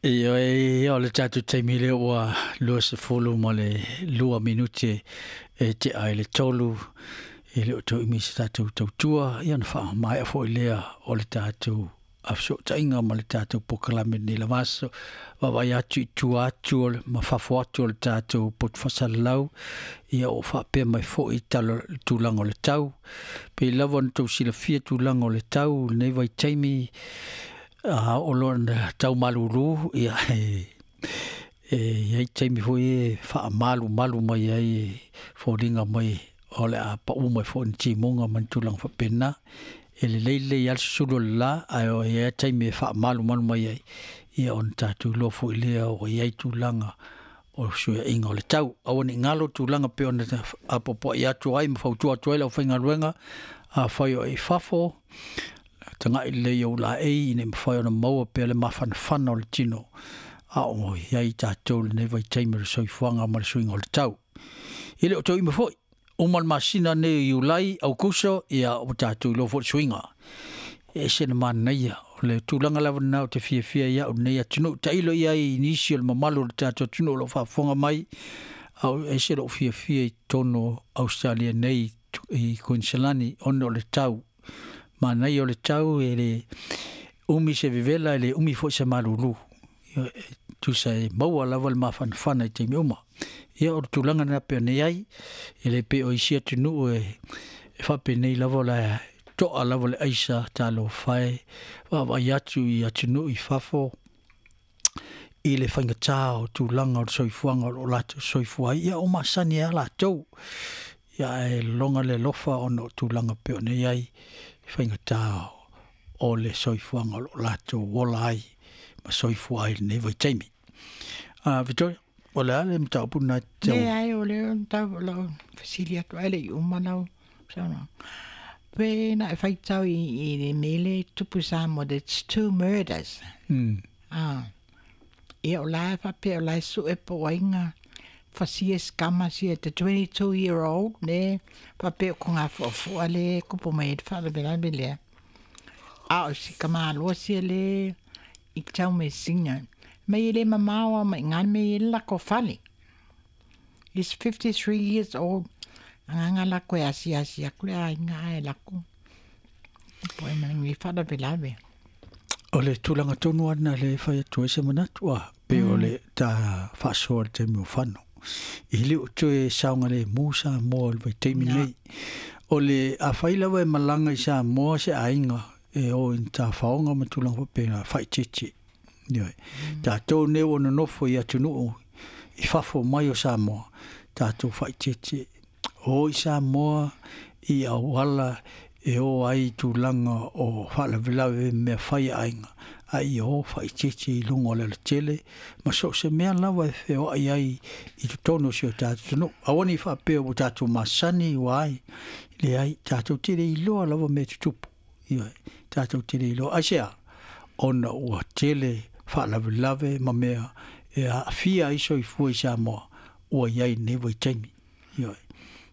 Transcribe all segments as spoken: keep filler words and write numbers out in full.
Ioe, o le tatou taimi lea ua luasefulu ma le lua minute e tea i le tolu, e le o toe umi se tatou tautua, ia ona faamaea foi lea o le tatou fesootaiga ma le tatou polokalame lenei lava aso. Vaavaai atu i tua atu o le, ma fafo atu o le tatou poto faasalalau, ia o faapea mai foi tala, tulaga o le tau. Pei lava ona tou silafia tulaga o le tau lenei vaitaimi, a o lona tau malulu, ia e, e i ai taimi foi e faamalumalu mai ai e foliga mai o le a pau mai foi ni timuga ma ni tulaga faapena. E lelei lelei lava le susulu o le la, ae o i ai taimi e faamalumalu mai ai, ia ona tatou iloa foi lea ua i ai tulaga o suiaiga o le tau. Aua ne i galo tulaga pei ona apoapoai atu ai ma fautua atu ai le aufaigaluega, afai o e i fafo, tagai lelei i ou laei ina ia mafai ona maua pea le mafanafana o le tino a o i ai tatou i lenei vaitaimi o le soifuaga ma le suiga o le tau. E le o toe umi foi, uma le masina nei o Iulai, Aukuso, ia ua tatou iloa foi le suiga. E ese le manaia, o le tulaga lava lena ou te fiafia ai au i lenei atunuu. Tailo i ai i nisi o le mamalu o le tatou atunuu o lo o faafofoga mai, a o ese lou fiafia i totonu o Ausetalia nei i Kuiniselani, ona o le tau. Manaia o le tau, e le umi se vevela, e le umi foi se malulu. Ia, e tusa e maua lava le mafanafana i taimi uma. Ia, o le tulaga lena pei ona i ai, e le pei o isi atunuu e, e faapenei lava o le toa lava le aisa talofa e vaavaai atu i atunuu i fafo i le faigata o tulaga o le soifuaga o lo o latou soifua ai. Ia, o masani ai lava latou. Ia, ae lologa le alofa ona o tulaga pei ona i ai faigata o le soifuaga o lo o latou ola ai ma soifua ai i lenei vaitaimi. Uh, Victoria, o le a le mataupu lena e te tau? Leai, o lea o tau o lau fesili atu ai le i uma lau saunoaga. Pe na e faitau i, i le mele tupu Samoa, that's two murders. Mm. Ah. Ia o la e faapea o la e sue po o ai nga fasia scammer sia the twenty-two year old le faapea o ko ngā fuafua le kupu mai ai le faalavelave lea. A o si kamaloa sia le i tau me singa. Mai e le mamao a mai ngā me i le lako fale. He's fifty-three years old. Anganga lako e asi asi aku le aiga ae lako. Po e mangi faalavelave. O le tulaga tonu lava lena lea e fai atu ai se manatu, a pei o le ta faasoa i le taimi o fano. I le o toe saogalemu Samoa i le vaitaimi nei. O le afai lava e malaga i Samoa se aiga e o i ni tafaoga ma tulaga faapena, faaeteete. Ioe. Tatou nei ua nonofo i atunuu i fafo mai o Samoa, tatou faaeteete. O i Samoa i auala e o ai i tulaga o faalavelave mea fai a aiga, a ia o faaeteete i luga o le alatele ma so o se mea lava e feoai ai i totonu o si o tatou atunuu. Aua ne i faapea ua tatou masani ua ai, leai, tatou te le iloa lava mea tutupu. Ioe, tatou te le iloa. Aisea? Ona ua tele faalavelave ma mea e aafia ai soifua i Samoa ua i ai i lenei vaitaimi. Ioe,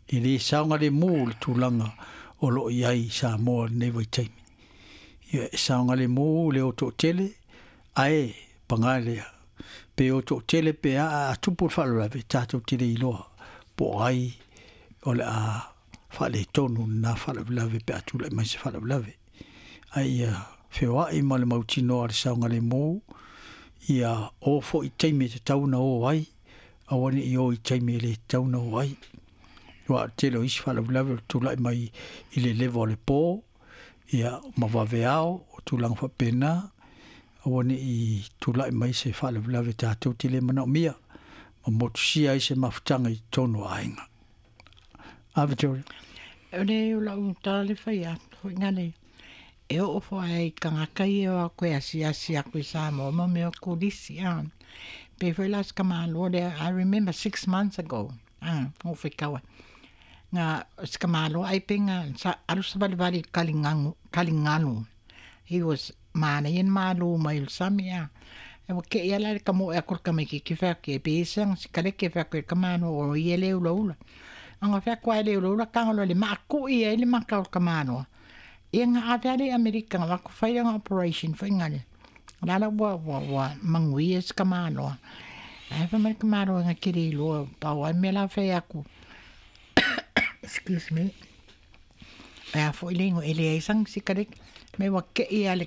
e le saogalemu le tulaga o lo o i ai i Samoa i lenei vaitaimi. Ia, e saogalemu le o toatele, ae paga lea. Pe o toatele pe a a tupu le faalavelave, tatou te le iloa po o ai o le a faaletonu lena faalavelave pe a tulai mai se faalavelave. Ae ia feoai ma le mautinoa le saogalemu, ia o foi i taimi e tatau ona o ai, aua ne i o i taimi e le tatau ona o ai. Aua o le tele o isi faalavelave o le tulai mai i le leva o le po, ia ma vaveao, o tulaga faapena, aua ne i tulai mai se faalavelave tatou te le manaomia, ma motusia ai se mafutaga i totonu o aiga. A Victoria? O le o lau tala le fai atu foi ngale e oo foi ai i tagata ia o atu e asiasi atu i Samoa ma mea o turisi a. Pe foi la se tamāloa lea, I remember six months ago, a, na ou faitau ai, na se tamāloa ai pe na sa alu savalivali i le taligalu, taligalu. He was manaia le malu mai o le sami a. E ua te'i lava la i le tamoe atu o le tamaitiiti fai atu, e pe ese ana sikaleti fai atu i le tamāloa o ia e le ulaula. Ana fai atu lava e le ulaula tago loa i le maatu'i ai le mata o le tamāloa. Ia na ave lava lea i Amerika na avatu fai lana operation foi na le. La la ua ua ua maguia se kamaloa. Ae fai mai le kamaloa e gake le iloa pau a le mea la fai aku. Excuse me. Ae a foi le igoa e leai sana sikareti me ua ke'i a le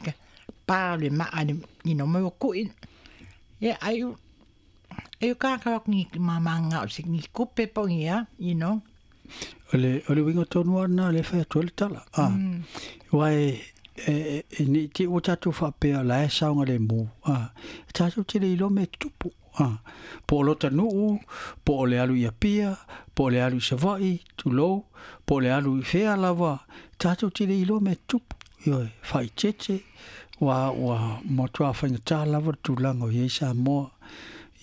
pa o le ma'a le you know me ua ku'i. Ia ai e kākau aku ni mamāga o se ni kupe po o ni a, you know. O le, o le uiga tonu lava lena o lea e fai atu ai le tala. A, aua e, e, e, ne i te i ua tatou faapea o la e saogalemu, a, e tatou te le iloa mea e tutupu, a, po o lota nuu, po o le alu i Apia, po o le alu i Savaii, tulou, po o le alu i fea lava, tatou te le iloa mea e tutupu, ioe, faaeteete, ua, ua matua faigata lava le tulaga o i ai Samoa,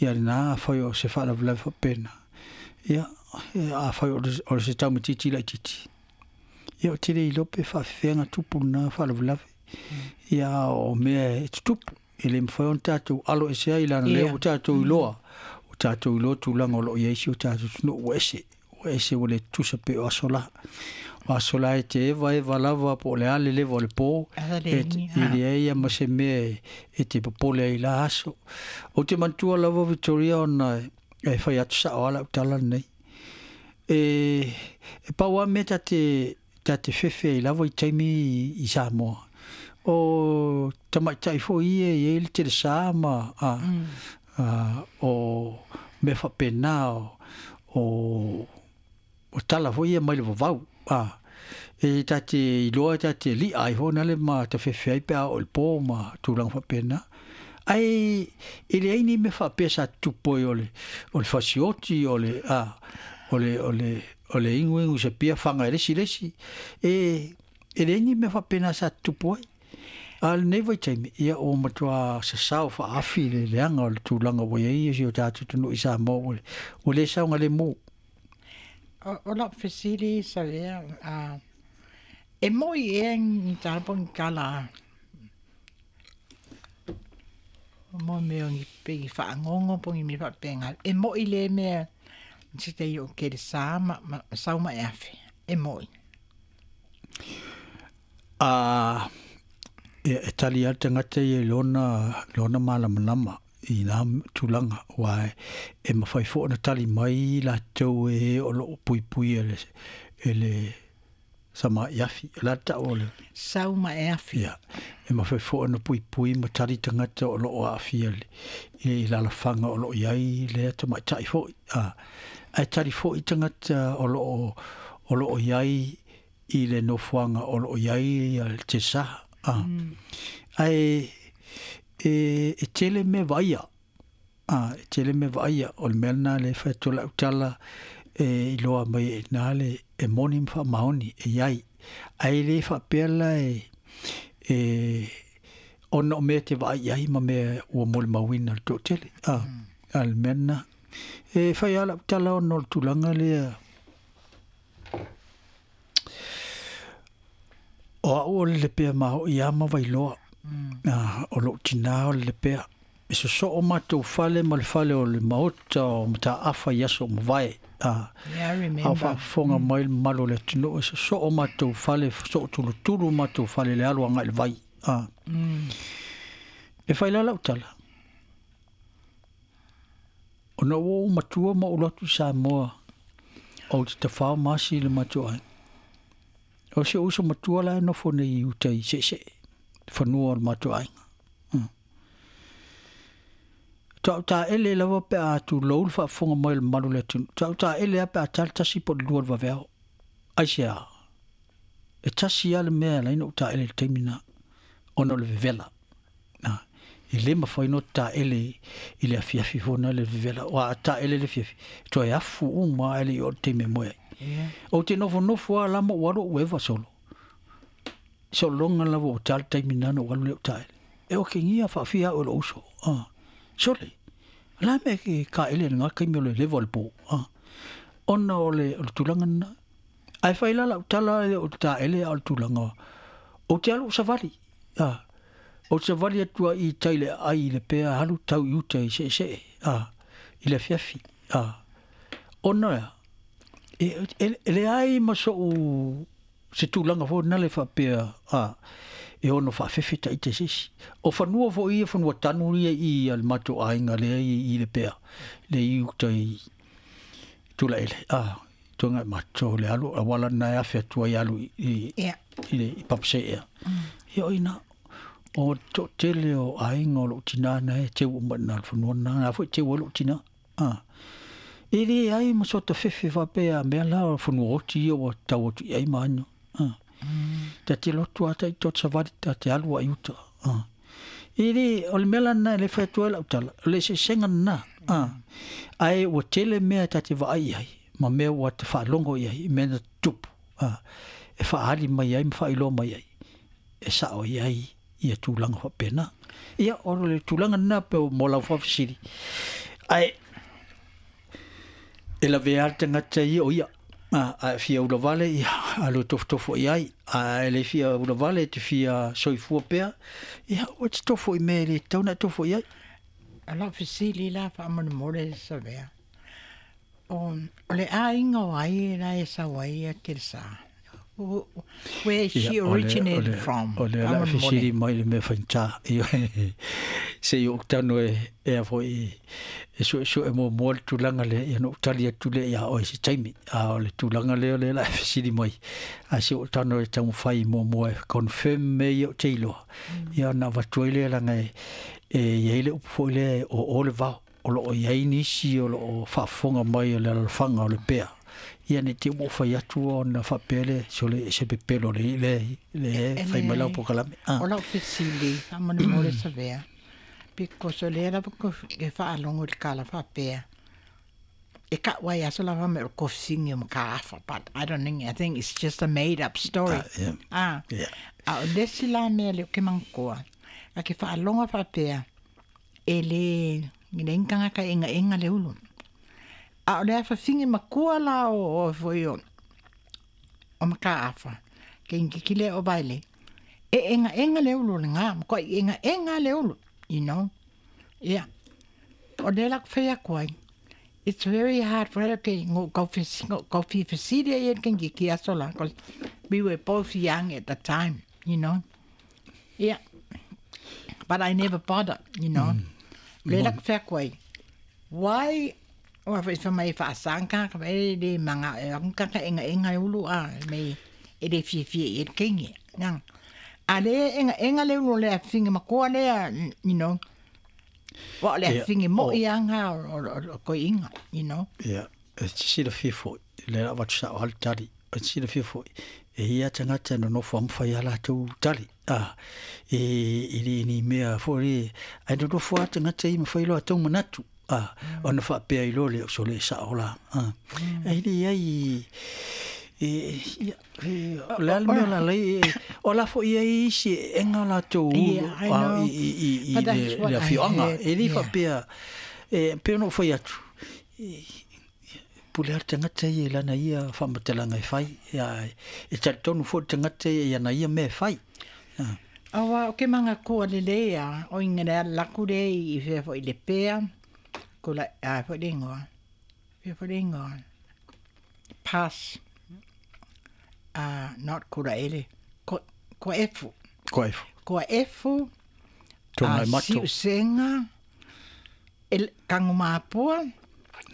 ia lena afai o se faalavelave faapena, ia, afai o se taumatiti laitiiti, ia ou te le iloa pe faafefea tupu lena faalavelave. Ia o mea e tutupu, e le mafai ona tatou alo ese ai leaga o lea ua tatou iloa, ua tatou iloa tulaga o lo o i ai si o tatou atunuu ua ese, ua ese ua le tutusa pei o aso la. O aso la e te evaeva lava po o le a le leva o le po, e leai lava ma se mea e te popole ai i la aso. Ou te manatua lava Victoria ona e fai atu sao lava lau tala lenei. E, e pau lava mea ta te, ta te fefe ai lava i taimi i Samoa. O tamaitai foi ia e i ai le telesa ma a, a, o mea faapena o, o, o tala foi ia mai le vavau. A, e ta te iloa ta te li'a ai foi nale ma tafefe ai pe a oo i le po ma tulaga faapena. Ae e leai ni mea faapea sa tutupu ai o le, o le fasioti, o le, a, o le, o le, o le iguigu i se pia faga e le isi le isi. E, e leai ni mea faapena sa tutupu ai. A o lenei vaitaimi, ia ua matua sasao faaafi le leaga o le tulaga ua i ai si o tatou atunuu i Samoa ua, ua le saogalemu. O lau fesili Savea, a, e moi ea ni tala po o ni tala mo mea o ni pe ni fagogo po o ni mea faapega, e moi lea mea se taimi o kelesa ma, ma sau ma e afe, e moi? A, e, e tali lava le tagata ia i lona, lona malamalama i na tulaga, aua e mafai foi ona tali mai latou e o loo puipui e le, e le sama'i afi. O le a le ta'u o le Sau ma e afi. Ia, e mafai foi ona puipui ma tali tagata o loo aafia i alaalafaga o loo i ai lea tamaita'i foi. A, ae tali foi tagata o loo o loo i ai i le nofoaga o loo i ai le telesa. A, ae e, e tele mea vaaia, a, e tele mea vaaia, o le mea lena lea e fai atu ai lau tala e iloa mai ai i ina le e moni ma faamaoni e i ai. Ae le faapea la e, e ona o mea e te vaai i ai ma mea ua molimauina i le toatele. A, a o le mea lena. E fai lava lau tala ona o le tulaga lea o au o le Lepea maoʻi lava ma Vailoa. A, o lou tinā o le Lepea. E sosoo matou fale ma le fale o le Maota o Mataafa i aso o mavae. A, Yeah, I a o remember. faafofoga mai le mamalu o le atunuu, e sosoo matou fale, sosoo tulutulu matou fale i le alu agai i le vai. A, e fai la lau tala, ona ua ou matua ma ou alu atu i Samoa, ou te tafao ma asi i le matou aiga. O si ou uso matua la e nofo nei i uta i Seesee, fanua o le matou aiga. Faatoa ou taele lava pe a tulou le faafofoga mai o le mamalu o le atunuu. Faatoa ou taele lava pe a ta le tasi po o le lua o le vaveao. Aisea? E tasi lava le mea e ala ai ona ou taele i le taimi lena, ona o le vevela. E le mafai ona taele i le afiafi foi lena le vevela. Aua a taele i le afiafi, e toe afu uma lava ae le i oo i le taimi e moe ai. Ou te nofonofo lava la ma ou alu ou eva solo. Sologa lava ua ta le taimi lena ona ou alu lea ou taele. E okegia faafia au e lou uso. Ah, sole, o le a mea e taele i lena taimi o le leva o le po. Ah, ona o le, o le tulaga lena. Ae fai la lau tala e le o le taele a o le tulaga ou te alu ou savali. Ah, ou te savali atu ai i tai le aai i Lepea alu tau i uta i Seesee, ah, i le afiafi. Ah, ona ea, e, e, e leai ma so'u se tulaga foi lena le faapea, ah, E ono whaafefe ta ite sisi. O whanua fo ia whanua tanu ia i al mato ainga lea i, i le pea. Le i uta i tula ele. Ah, tonga mato le alu, awala na afe atua i alu i, i, yeah. i, le, i papse ea. Mm. Ia oina, o to tele o ainga o lo tina na e te uma na whanua na, na fo te ua lo tina. Ah. E le ai ma sota fefe wapea mea la o whanua oti ia o tau atu i ai maano. Ah. Ta te lotu ata i tot savali ta te alua i uta. Ah. E le, o le mea lana le whatua lau tala, o le se senga na. Ah. Ai ua tele mea ta te vaai ai, ma mea ua te whaalongo i ai, mea na tupu. Ah. E whaali mai ai, ma whailoa mai ai. E sao i ai, ia tūlanga whapena. Ia, o le tūlanga na pe o mō lau whawhisiri. Ai, e la vea tangata ia o ia. A, a fia ula vale, ia, a lo tofotofo i ai. A e le fia ula vale, te fia soifua pea. Ia, o te tofo i mea le tauna tofo i ai. A lau fesili la whaamonemole sa vea. O, o le ainga o ai la e sa wai a te sa. Where she originated ole, from. O le la fesili mai le mea whainta. Se i o tano e e a foi e su su e mo mo le tūlanga le ia no tali atu le ia o se taimi. A o le tūlanga le o le la fesili mai. A se o tano e tau whai mo mo e confirm me i o te iloa. Ia na watu le langa e e ia ile upu le o o le vao. O lo o iai nisi o lo o whaafonga mai o le alfanga o le pea. Ia ne te mo whai atu o na whapele so le se pepelo le le le whai mai lau pokalame. Ah. O lau fesili, whaamonemole sa vea. Because o le lava ko ke whaalongo le kala whapea. E ka wai aso lava me o kofisingi o makaafa, but I don't think, I think it's just a made up story. Ah, yeah. Ah. Yeah. A o lesi la mea le o ke mangkoa. A ke whaalonga whapea, e le le inganga ka inga inga le ulu. A o le awhawhingi makua la o o foi o o makaafa. Ke ingi kile o baile. E enga enga le ulu le ngā, mkoa i enga enga le ulu. You know? Yeah. O le lak whea koe. It's very hard for her ke ngo kau fesili e kengi ki aso la. Because we were both young at the time, you know? Yeah. But I never bothered, you know? Mm. Le lak whea koe. Why? O a wha mai whaasanga ka e le manga e kaka enga enga e ulu a me e le fie fie e kengi. Nang. A le enga enga le ulu le a fingi makoa le a, you know. Wa le a fingi mo i anga o, o, o koi inga, you know. Ia, e tisila fie foi, le la watu sa o hali tali, e tisila fie foi. E ia tangata no nofo amwhai ala tau tali. Ah, e i le ni mea foi, ai no nofo a tangata i mawhai loa tau manatu. Ah, mm. Ona whaapea i lo le o so le sa o la. Ah. Mm. Ai le ai e ia e le al mea la le o la fo ia isi enga la tau Yeah, i i i i le le fioanga e le whaapea e pe no whai atu. Pule ar tangata i lana ia whaamatalanga e whai. Ia, e talitonu fo tangata i ana ia mea whai. Ah. Awa, o ke manga koa le lea, o inga lea laku le i whea fo i le pea, ko la, a fo le ingoa, whea fo le ingoa, pass, uh, not kura ele, ko, ko efu. Ko efu. Ko efu, Tōngai mato. Siusenga, el, kangu maapua,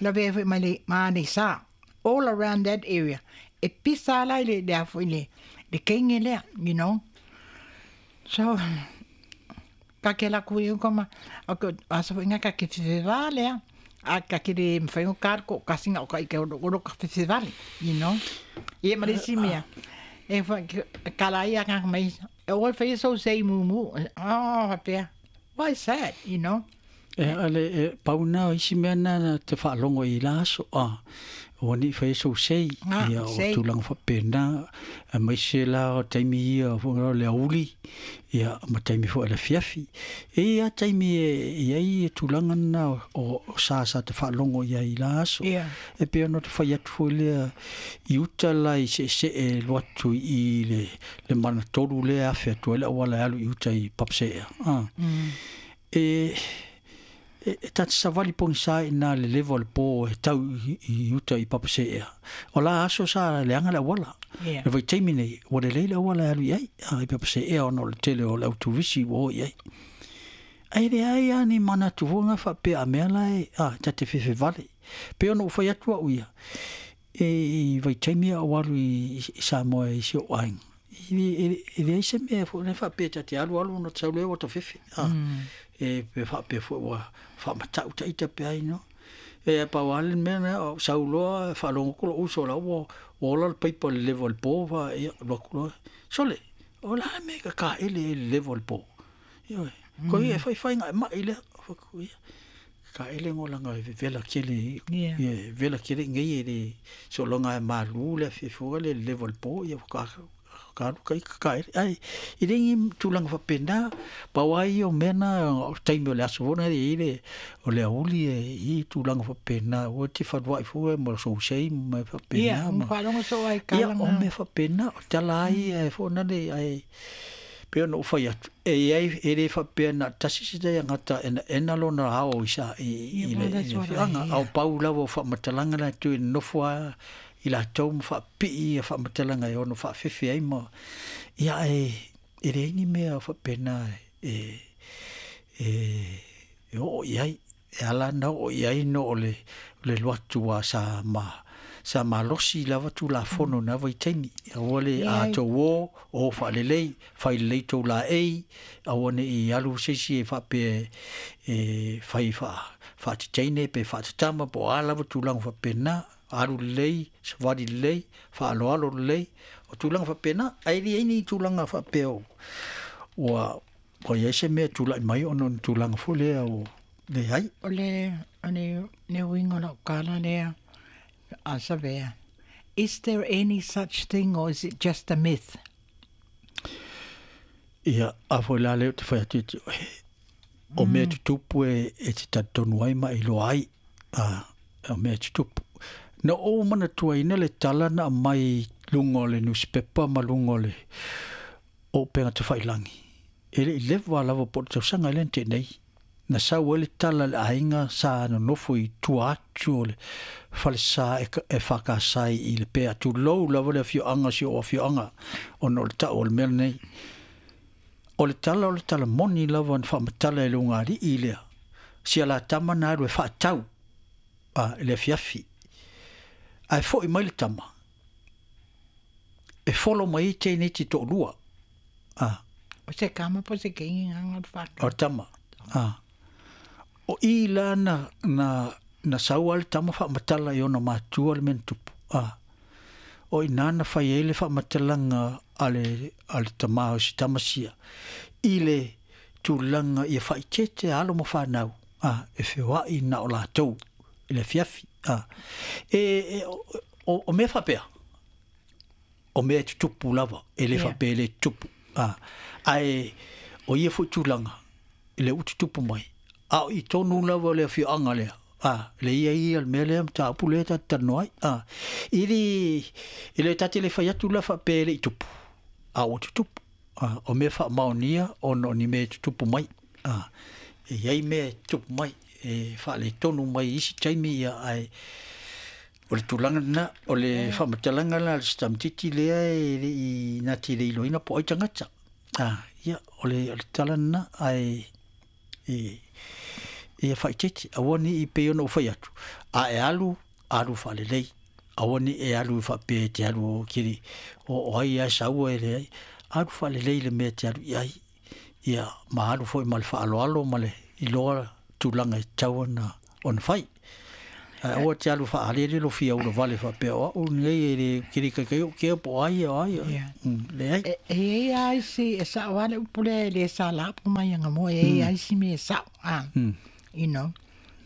la whea fo i mai maane sa, all around that area. E pisa ala i le lea fo i le, le kenge lea, you know. So, ka ke la kui koma, o ko aso inga ka ke festival lea, a ka ke le mwhai o kar ko kasinga o ka ike o ro ka festival, you know. Ie marisi mea. E wha, kala ia ka mai, e o whai so sei mumu, oh, hapea. Why is that, you know? E ale e pauna o isi mea na te whaalongo i la aso, ah, o ni whai so sei, ia o tūlanga whapena, a mai se la o taimi ia o le auli, ia ma taimi fo ele fiafi. E ia taimi e ia i e tūlanga na o, o sa sa te whaalongo ia i la aso. Yeah. E pea no te whai atu fo lea i uta la i se se e loatu i le, le mana toru lea afe atu ele awala alu i uta i papsea. Ah. Mm. E E ta te savali pogisa i na le leva o le po e tau i, i uta i Papaseea. O la aso sa leaga le auala. Yeah. Le vaitaimi nei, ua lelei le auala e alu i ai, a, i Papaseea ona o le tele o le auturisi ua o i ai. Ae leai a ni manatu foi ga faapea a mea la e, a, ta te fefevale. Pe ona ou fai atu au ia, e i vaitaimi a ou alu i, i Samoa i si ou aiga. I le- e leai se mea foi le faapea ta te alu alu ona sau lea ua tafefe. A, Mm. e pe faapea foi ua faamatau taita pe ai no. E pau lava le mea lea, o sau loa faalogo atu lou uso la ua ua ola le paipa i le leva o le po fa ia alu atu loa. Sole, o le a le mea e kakaele ai le leva o le po. Ioe. Ko ia e faifaigaema'i lea. Fai atu ia. Kakaele go laga e vevela tele Yeah. ia e vela tele nei e le sologa e malu le afiafi foi le leva o le po ia ka ka alu kai kakaele. Ae e le ni tulaga faapena, pau ai ia o mea na o taimi o le aso foi lena e i ai le o le auli e i tulaga faapena ua te falua'i foi ma sousei ma mea faapena Ia, ma faalogo soo ai ia kala o na. mea faapena o tala ai e foi nale ae pe ona ou fai atu e iai e le faapea na tasi se tagata enaena lona ao i sa i, Ia, i well, le, i that's le what I afioaga hear. ao pau lava o faamatalaga latou e nofo a i latou ma faapipii ia faamatalaga e ono faafefe ai ma ia e e leai ni mea faapena e e e oo i ai e ala na oo i ai no o le o le alu atu a sa ma sa malosi lava tulafono na vaitaimi aua le Ia, a tou o o faalelei fai lelei tou laei aua ne'i alu se isi e faapea e fai faa faateteine pe faatatama po o a lava tulaga faapena alu lelei savali lelei faaloalo lelei o tulaga faapena ae leai ni tulaga faapea o ua ua iai se mea tula'i mai ona o ni tulaga foi lea o leai. O le, o le, le uiga o lau tala lea, a Savea. Is there any such thing or is it just a myth? Ia a foi la lea ou te fai atu ia te oe o mea tutupu e e te talitonu ai ma e iloa ai a o mea tutupu. Na ou manatuaina le tala na aumai luga o le newspaper ma luga o le o upega tafailagi. E le'i leva lava po o le tausaga lea na te'i nei. Na sau ai le tala i le aiga sa nonofo i tua atu o le falesa e, e fakasai i le pea tulou lava le afioaga si o afioaga ona o le ta'u o le mea lenei. O le tala o le tala moni lava na faamatala e luga ali'i lea. Sia latama na alu e faatau a, i le afiafi. Ae fo'i mai le tama. E folo mai ai teineti to'alua. A, O se kama po se kengi nganga o o whaka. le tama. A. O i la na, na, na sau a le tama faamatala i ona matua le mea na tupu. A. O ina na fai ai le faamatalaga a le, a le tamā o si tama sia. I le tulaga ia faaitete alo ma fanau. A, e feoa'i na o latou i le afiafi. A. E, e o, o, o mea faapea. O mea e tutupu lava. E le Yeah. faapea e le tutupu. A. Ae o ia foi tulaga i le ututupu mai. A o i tonu lava o le afioaga lea. A, le ia ia le mea lea mataupu lea ta te talanoa ai. A, i le, i le tate le fai atu la faapea e le'i tupu. A ua tutupu. A, o mea faamaonia ona o ni mea e tutupu mai. A, e iai mea e tutupu mai. E faaletonu mai i isi taimi ia ae o le tulaga lena o le faamatalaga la a le setamatiti lea e le'i nati le iloaina po o ai tagata. A, ia o le o le tala lena ae e ia faaitete aua ni'i pei ona ou fai atu. A e alu, alu faalelei. Aua ni'i e alu faapea e te alu o kili o, o ai ae saua e leai. Alu faalelei le mea e te alu i ai. Ia ma alu foi ma le faaloalo ma le iloa tulaga e tatau ona ona fai. Ae aua te alu faalele lo fia ulavale faapea o a'u lenei e le kili kaikai o kea po o ai o ai. Yeah. Mm, leai. E e i ai si e sa wale upule le sa la pu mai nga mo e i ai si me sa a. Mm. You know.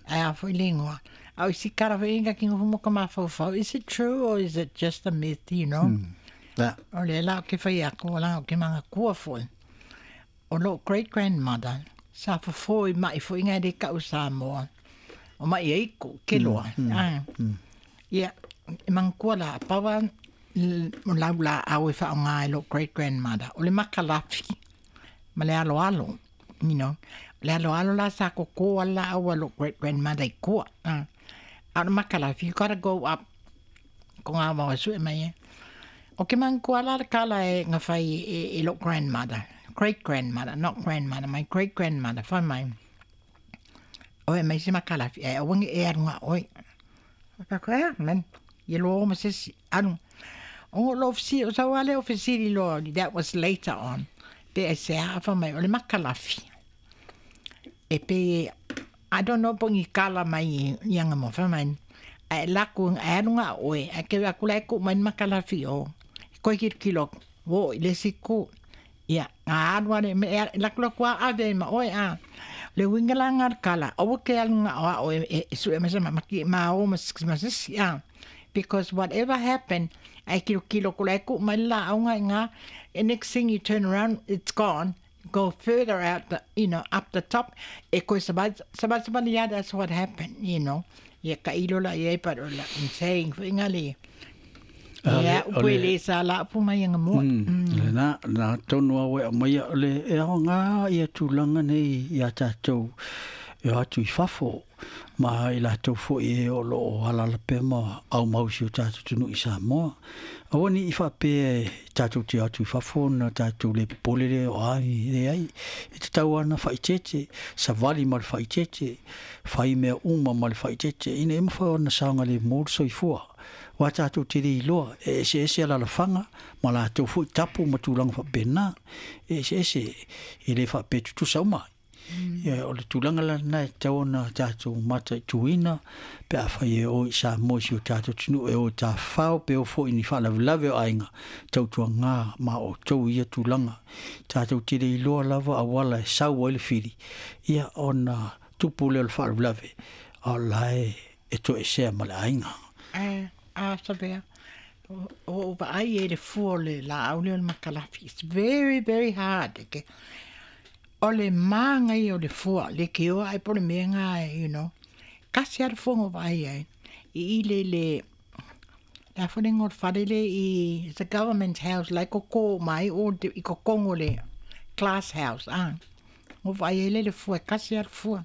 Ai a foi lingua. Au si kara foi inga kinga fumo ka mafau. Is it true or is it just a myth, you know? Mm. La. O le la ke whai ako, la ke manga kua foi. O lo great grandmother, sa fofo i mai fo inga de kau Samoa. O mai eiko, ke loa. Mm, Ah. mm. Ia, e mangkua la pawa l- o lau la au e whaonga e lo great grandmother. O le makalafi, ma le alo alo, you know. Le alo alo la sa koko ala awa lo great grandmother i kua. Ah. A o makalafi, you gotta go up. Ko ngā mawa sue mai e. O ke mang kua la kala e ngā whai e, e lo grandmother. Great grandmother, not grandmother, my great grandmother, whai mai. O e mai se makalafi, e awangi e arunga oi. Whako e, man, ye lo ma sisi, arunga. O lo ofisi, o sa wale ofisiri lo, that was later on. Pe e se a mai, o le makalafi. E pe, I don't know pongi kala mai i anga mo whai mai. A laku e arunga oe, a ke akula e ku mai makalafi o. Koe kiro kilo, wo, i le siku. Ia, ngā arua le, me laku laku a ave ma oe a. Le winga la ngā kala, o ke alunga o a oe, e sue ma sama maki ma o ma sisi a. Because whatever happened, ai kilo kilo kula e ku mai la aunga i ngā, and next thing you turn around, it's gone. Go further out, the, you know, up the top. E koe sabat, sabat sabat, yeah, that's what happened, you know. Ia ka ilo la ia, but I'm saying, inga le. Ia, upu le sa la upu mai anga mua. Le na, na tonu awe a mai le e ao ngā ia tūlanga nei ia tātou e atu i fafo. Ma i la tau fo i e o lo o halala pema au mausi o tātou tunu i Samoa. Awa ni i whape tātou te atu i fafo na tātou le pepolere o ai le ai. E te tau ana whaitete, savali ma le whaitete, whai mea uma ma le whaitete. Ina e mawhai ona saonga le mōru soifua. Wa tātou te rei loa, e ese ese ala la whanga, ma la tau fo i tapu ma tūlanga whapena, e ese ese e le whape tutusa umai. Ia, o le tūlanga la nai tau ona tātou mata i tuina, pe a whai e o i Samoa si o tātou tunu e o tā whao, pe o fo i ni whalavelave o ainga, tautua ngā ma o tau ia tūlanga. Tātou te rei loa lava a wala e sau ai le whiri. Ia, ona tupu leo le whalavelave, a la e e to e sea ma le ainga. Eh, a sabea. O o vaai e le fua le la au le o le makalafi. It's very, very hard. Okay? O le maanga i o le fua, le ke oa ai po le mea ngā, you know. Kasi ara fua ngō vai ai. I i le le, la fone ngō whare le i, it's a government house, lai koko mai o te, i kokongo le glass house, ah. Ngō vai ai le le fua, kasi ara fua.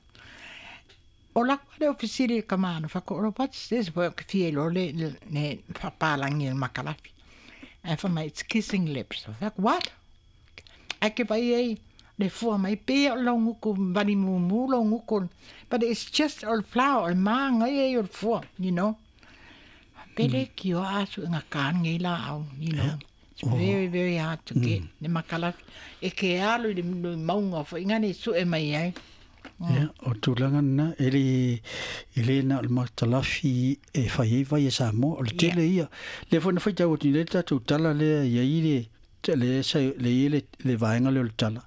O la kwa le ofisiri ka mana, whako oro, what's this work fie lo le, le, le papalangi le makalafi. Ai wha mai, it's kissing lips. Whako, what? Ai ke vai ai, le fua mai pe o lo nguku vani mumu lo nguku, but it's just all flower maanga e o fua, you know. Pele ki o asu nga kan ngi la au, you know. It's very very hard to get ne makalafi e ke alu le maunga fo inga ne su e mai ai. Ia, o tūlanga na, e le, e le na o le makalafi e whai e vai e Samoa, o le tele ia. Le fo na whai tau o le tātou tala lea ia i le, le sa le le le vaenga le o le tala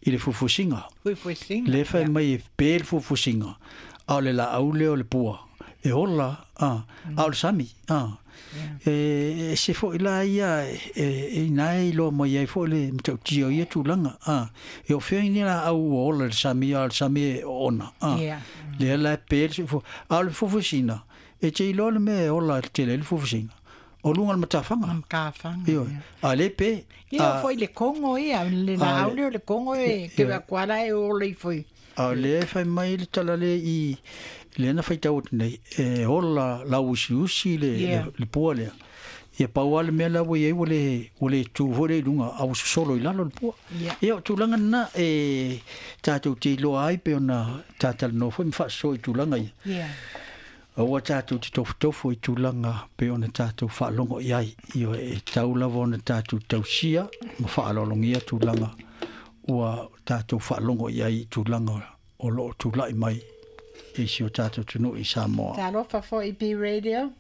i le fufusinga. Fufusinga. Le whai mai e pe le fufusinga. A o le la au le o le pua. E hola, a, a o le sami, a. E, e se fo i la ia, e, e nai loa mai ai fo le mtautia ia tūlanga, a. E o whia ni la au o ola le sami, a o le sami e ona, a. Le la pe le fufu, a o le fufusinga. E te iloa le mea e ola le tele le fufusinga. O lunga le matawhanga. Matawhanga. Io, a le pe. Ia, foi le Kongo ia, le la au le Kongo e, ke wa kuala e o le foi. A le whai mai le tala le i, le ana whai tau nei, e hola la usi usi le, le, le pua lea. Ia pau ale mea la ua iai ua le, ua le tū hore i lunga, a ua sosolo i lalo le pua. Ia, o tūlanga na e tātou te iloa ai pe ona tātala no foi mwhaaso i tūlanga ia. Yeah. Aua tātou te tofutofo i tūlanga pe ona tātou whaalongo i ai. Io e tau lava ona tātou tausia ma whaalolongia tūlanga ua tātou whaalongo i ai i tūlanga o loo tūlai mai i si o tātou tunu i Samoa. Talofa fo i B Radio.